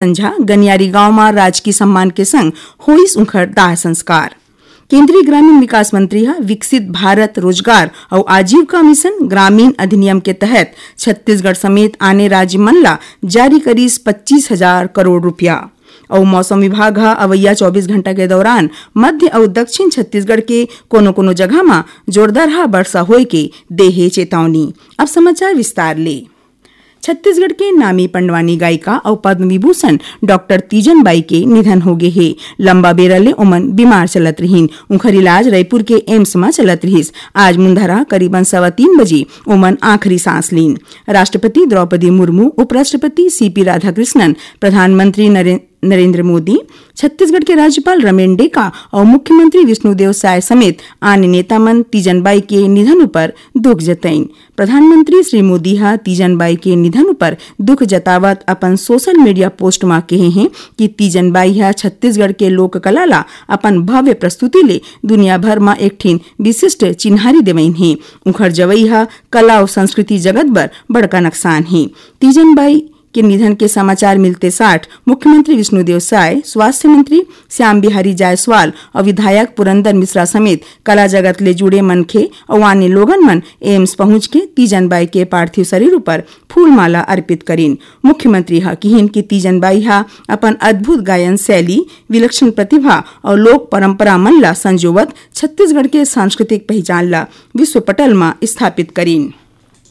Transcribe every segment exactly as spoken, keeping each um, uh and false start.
संझा गनियारी गांव म राजकीय सम्मान के संग होइस उंखर दाह संस्कार। केंद्रीय ग्रामीण विकास मंत्री ह विकसित भारत रोजगार अउ आजीविका मिशन ग्रामीण अधिनियम के तहत छत्तीसगढ़ समेत आने राज्य मन ला जारी करिस पच्चीस हजार करोड़ रुपया। अउ मौसम विभाग ह अवइया चौबीस घंटा के दौरान मध्य अउ दक्षिण छत्तीसगढ़ के कोनो-कोनो जगह म जोरदारहा बरसा होए के दे हे चेतावनी। अब समाचार विस्तार ले। छत्तीसगढ़ के नामी पंडवानी गायिका अउ पद्म विभूषण डॉक्टर तीजन बाई के निधन हो गे हे। लंबा बेरा ले ओमन बीमार चलत रिहिन। उंखर इलाज रायपुर के एम्स म चलत रिहिस। आज मुंधरा करीबन सवा तीन बजे ओमन आखिरी सांस लीन। राष्ट्रपति द्रौपदी मुर्मू, उपराष्ट्रपति सीपी राधाकृष्णन, प्रधानमंत्री नरे-, नरेंद्र मोदी, छत्तीसगढ़ के राज्यपाल रमेन डेका अउ मुख्यमंत्री विष्णुदेव साय समेत आने नेता मन तीजन बाई के निधन उपर दुख जतइन। प्रधानमंत्री श्री मोदी ह तीजन बाई के निधन उपर दुख जतावत अपन सोशल मीडिया पोस्ट म कहे हें कि तीजन बाई ह छत्तीसगढ़ के लोक कला ला अपन भव्य प्रस्तुति ले दुनिया भर म एक ठिन विशिष्ट चिन्हारी देवइन हे। उंखर जवई ह कला अउ संस्कृति जगत बर बड़का नकसान हे। तीजन बाई के निधन के समाचार मिलते साठ मुख्यमंत्री विष्णुदेव साय, स्वास्थ्य मंत्री श्याम बिहारी जायसवाल अउ विधायक पुरंदर मिश्रा समेत कला जगत ले जुड़े मनखे अउ आने लोगन मन एम्स पहुंच के तीजन बाई के पार्थिव शरीर उपर फूलमाला अर्पित करिन। मुख्यमंत्री ह किहिन कि तीजन बाई ह अपन अद्भुत गायन शैली, विलक्षण प्रतिभा अउ लोक परंपरा मन ला संजोवत छत्तीसगढ़ के सांस्कृतिक पहिचान ला विश्व पटल म स्थापित करिन।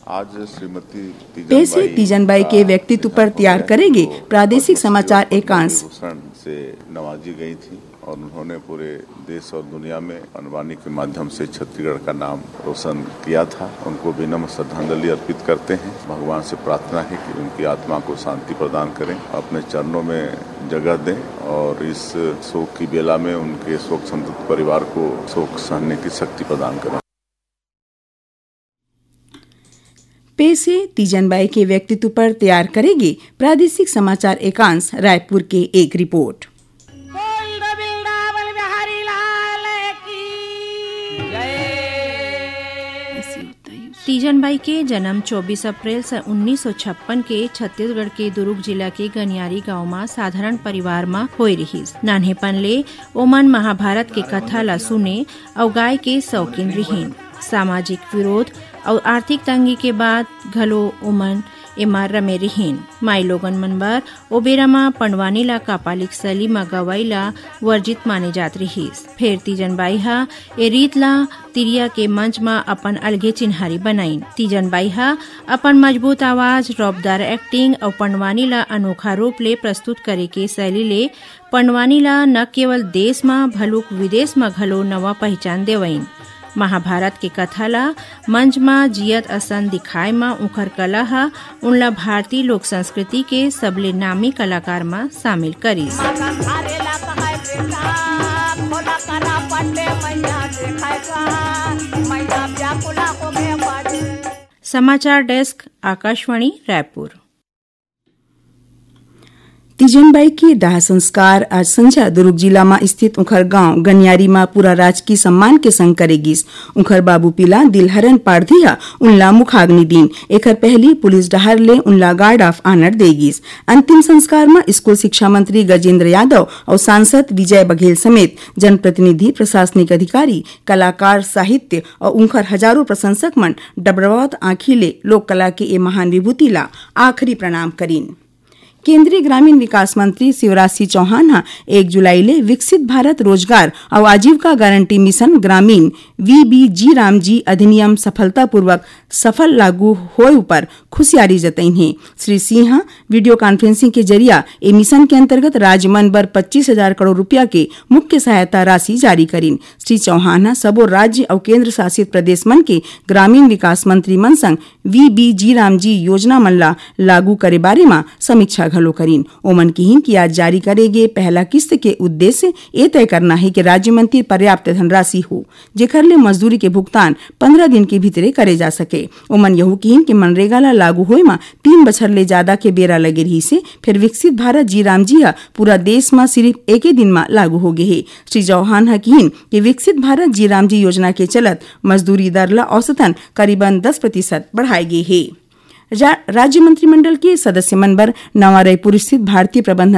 आज श्रीमती तीजन पेश हे बाई तीजन बाई के का व्यक्तित्व पर निधन हो तैयार गया। करेगी तो प्रादेशिक पद्मश्री समाचार और पद्म एकांश। विभूषण से नवाजी गई थी और उन्होंने पूरे देश और दुनिया में पंडवानी के माध्यम से छत्तीसगढ़ का नाम रोशन किया था। उनको विनम्र श्रद्धांजलि अर्पित करते हैं। भगवान से प्रार्थना है कि उनकी आत्मा को शांति प्रदान करें, अपने चरणों में जगह दें और इस शोक की बेला में उनके शोक संतप्त परिवार को शोक सहने की शक्ति प्रदान करें। पेश हे तीजन बाई के व्यक्तित्व पर तैयार करेगी प्रादेशिक समाचार एकांश रायपुर के एक रिपोर्ट। तीजन बाई के जन्म चौबीस अप्रैल सन उन्नीस सौ छप्पन के छत्तीसगढ़ के दुरूग जिला के गनियारी गांव म साधारण परिवार म होए रिहिस। नान्हेपन ले ओमन महाभारत के कथा ला सुने अउ गाय के शौकीन रिहिन। सामाजिक विरोध अउ आर्थिक तंगी के बाद घलो ओमन एमा रमे रिहिन। माई लोगन मन बर ओ बेरा म पंडवानी ला कापालिक शैली म गवई ला वर्जित माने जात रिहिस। फेर तीजन बाई ह ए रीत ला तिरिया के मंच म अपन अलगे चिन्हारी बनाइन। तीजन बाई ह अपन मजबूत आवाज, रौबदार एक्टिंग अउ पंडवानी ला अनोखा रूप ले प्रस्तुत करे के शैली ले पंडवानी ला न केवल देश म भलुक विदेश म घलो नवा पहिचान देवइन। महाभारत के कथा ला मंच म जियत असन दिखाए म उंखर कला ह उनला भारतीय लोक संस्कृति के सबले नामी कलाकार म शामिल करिस। समाचार डेस्क, आकाशवाणी रायपुर। तीजन बाई के दाह संस्कार आज संझा दुरूग जिला म स्थित उंखर गांव गनियारी म पूरा राजकीय सम्मान के संग करे गिस। उंखर बाबू पीला दिलहरन पारधी ह उनला मुखाग्नि दीन। एखर पहली पुलिस डहार ले उनला गार्ड ऑफ ऑनर दे गिस। अंतिम संस्कार म स्कूल शिक्षा मंत्री गजेंद्र यादव अउ सांसद विजय बघेल समेत जनप्रतिनिधि, प्रशासनिक अधिकारी, कलाकार, साहित्य अउ उंखर हजारों प्रशंसक मन डबडबावत आंखी ले लोक कला के ए महान विभूति ला आखिरी प्रणाम करिन। केंद्रीय ग्रामीण विकास मंत्री शिवराज सिंह चौहान ह एक जुलाई ले विकसित भारत रोजगार अउ आजीविका गारंटी मिशन ग्रामीण वीबीजी रामजी अधिनियम सफलतापूर्वक सफल लागू होए उपर खुशियारी जतइन हे। श्री सिंह ह वीडियो कॉन्फ्रेंसिंग के जरिया ए मिशन के अंतर्गत राज्य मन बर पच्चीस हजार करोड़ रुपया के मुख्य सहायता राशि जारी करिन। श्री चौहान ह सबो राज्य अउ केंद्र शासित प्रदेश मन के ग्रामीण विकास मंत्री मन संग वीबीजी रामजी योजना मन ला लागू करे बारे म समीक्षा घलो करिन। ओमन किहिन कि आज जारी करे गे पहला किस्त के उद्देश्य ए तय करना हे कि राज्य मन तीर पर्याप्त धनराशि हो, जेखर ले मजदूरी के भुगतान पंद्रह दिन के भीतरे करे जा सके। ओमन यहू किहिन कि मनरेगा ला लागू होए म तीन बछर ले जादा के बेरा लगे रिहिस हे, फेर विकसित भारत जी रामजी ह पूरा देश म सिरिफ एके दिन म लागू हो गे हे। श्री चौहान ह किहिन कि विकसित भारत जी रामजी योजना के चलत मजदूरी दर ला औसतन करीबन दस प्रतिशत बढ़ाए गे हे। रा-, राज्य मंत्रिमंडल के सदस्य मन बर नवा रायपुर स्थित भारतीय प्रबंधन